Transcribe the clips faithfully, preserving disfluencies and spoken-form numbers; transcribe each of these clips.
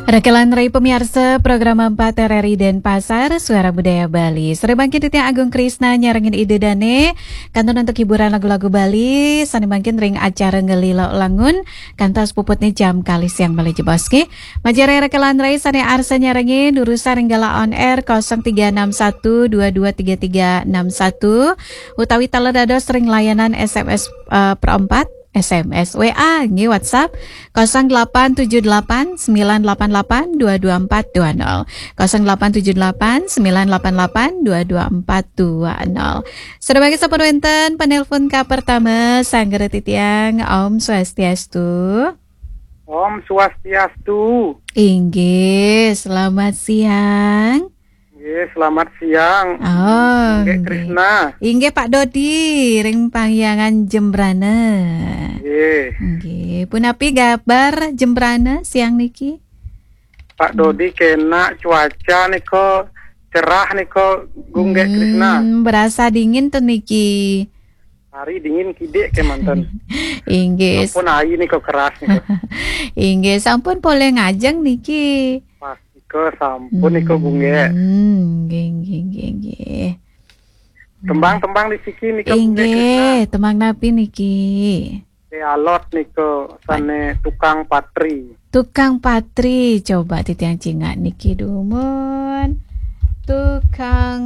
Rekelan rai pamiarsa program empat R R I Denpasar, Suara Budaya Bali. Sore mangkin titiang Agung Krisna nyarengin Ida Dane, kantun antuk hiburan lagu-lagu Bali, sane mangkin ring acara Ngelila Langun, kantos puputne jam kalih siang malih jebos nggih. Majeng ring rekelan rai sane arsa nyarengin, durusang ring galah on air kosong tiga enam satu dua dua tiga tiga enam satu, utawi taler dados ring layanan S M S, eh, perempat, S M S, W A, nggih, WhatsApp, kosong delapan tujuh delapan sembilan delapan delapan dua dua empat dua nol. Kosong delapan tujuh delapan sembilan delapan delapan dua dua empat dua nol. Sedemikian sampun wenten penelpon ka pertama, sanggra titiang, Om Swastiastu. Om Swastiastu. Inggih, selamat siang. Nggih, selamat siang. Oh, Nggih, nggih. Krisna. Inggih, Pak Dodi, ring Pangyangan Jembrana. Nggih. Nggih, punapi kabar Jembrana siang niki? Pak Hmm. Dodi, kena cuaca nika cerah nika, Gung Nggih, Krisna. Hmm, berasa dingin tuh niki. Hari dingin kidik kemanten. Inggih. Sampun ai nika keras nika. Inggih, sampun polih ngajeng niki. Pas nika sampun nika, Gung Nggih. Hmm, nggih, nggih, nggih, nggih. Tembang-tembang di siki nika, Gung Nggih, Krisna. Inggih, tembang napi niki? Te alot nika sane Tukang Patri. Tukang Patri, coba titiang cingak niki dumun. Tukang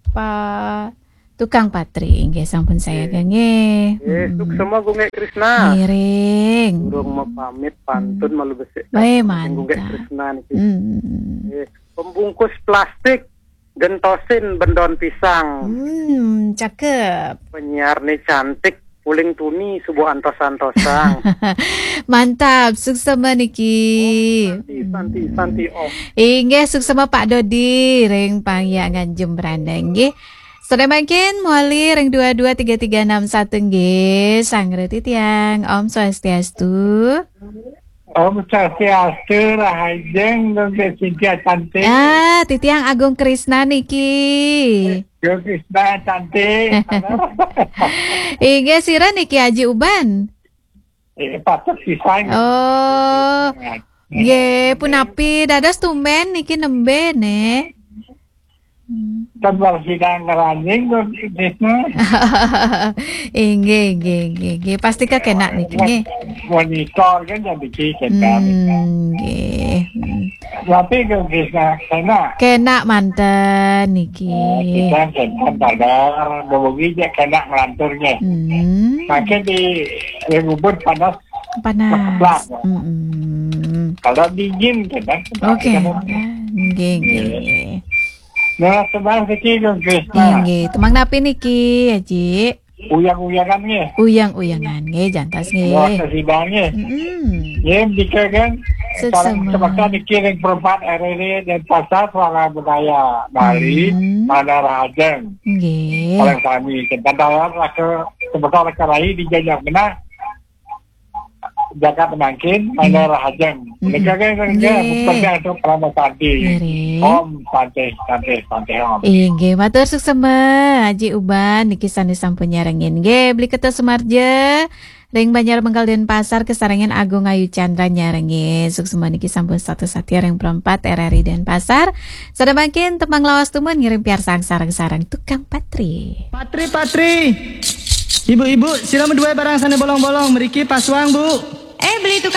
Pa-, Tukang Patri, inggih sampun saya Nggih. Nggih. Nggih, Mm-mm. Suksema Gung Nggih Krisna. Ngiring. Durung mapamit pantun Mm. malu besik Bae, Gung Nggih mantap. Krisna niki. Mm. Nggih. Pembungkus plastik gentosin bendon pisang. Hmm, cakep. Penyiar ni cantik, uling tuni subuh antos-antosang. Mantap, suksema niki. Santi, santi, santi, Om. Inggih, suksema Pak Dodi, ring Pangyangan Jembrana, nggih. Sore mangkin, mawali ring dua dua tiga tiga enam satu, nggih. Sanggra titiang, Om Swastiastu. Om Swastiastu, rahajeng, Gung Nggih Cynthia cantik. Ah, titiang Agung Krisna niki. Gung Krisna cantik. Inggih, sira niki Aji Uban? Eh, patut pisan. Oh. Nggih, punapi dados tumben niki nembe, Nek? Hmm. Tambah sidang ngeranjing, Gung Krisna. Inggih, inggih, inggih, inggih. Pasti kekenak niki, nggih. Monitor kan jadi ki kekenak. Hmm, nggih. Hmm. Tapi, Gung Krisna, kenak. Kenak manten niki. Oh, kita kenak padar, bebugi je kenak ngelantur, nggih. Hmm. Makin di, di ubud panas. Panas. Keblak. Mm-mm. Kalau dingin, kenak. Oke. Kenak. Nggih, nggih, nggih. Nah, tembang siki, Gung Krisna. Nggih, nggih. Tembang napi niki, Aji? Uyang-uyangan, nggih. Uyang-uyangan, nggih, jantos, nggih. Wah, kesidang, nggih. Mm-mm. Nggih, dika, kan. Suksema. Salam semeton niki ring Perempat R R I Denpasar, Suara Budaya Bali, Hmm. Mandar Rahajeng. Nggih. Paling sami, kan. Dalam raka, semeton raka rai di Jajak Benah. Jagat mangkin, Hmm. Mandar Rahajeng. Hmm. Nika, kan, kan, kan, Nggih. Seperti itu, Pramod Santi. Nggih. Om Santi, Santi, Santi, Om. Inggih, matur suksema, Aji Uban, niki sane sampun nyarengin. Nggih, Beli Ketua Sumarja, ring Banjar Mengkal Denpasar, kasarengin Agung Ayu Chandra nyarengin. Suksema niki sampun satus satia ring Perempat R R I Denpasar. Sare mangkin tembang lawas tumun ngiring piarsang sareng-sareng Tukang Patri. Patri, Patri. Ibu-ibu, sira madué barang sané bolong-bolong, mriki pasuang, Bu. Eh, beli tukang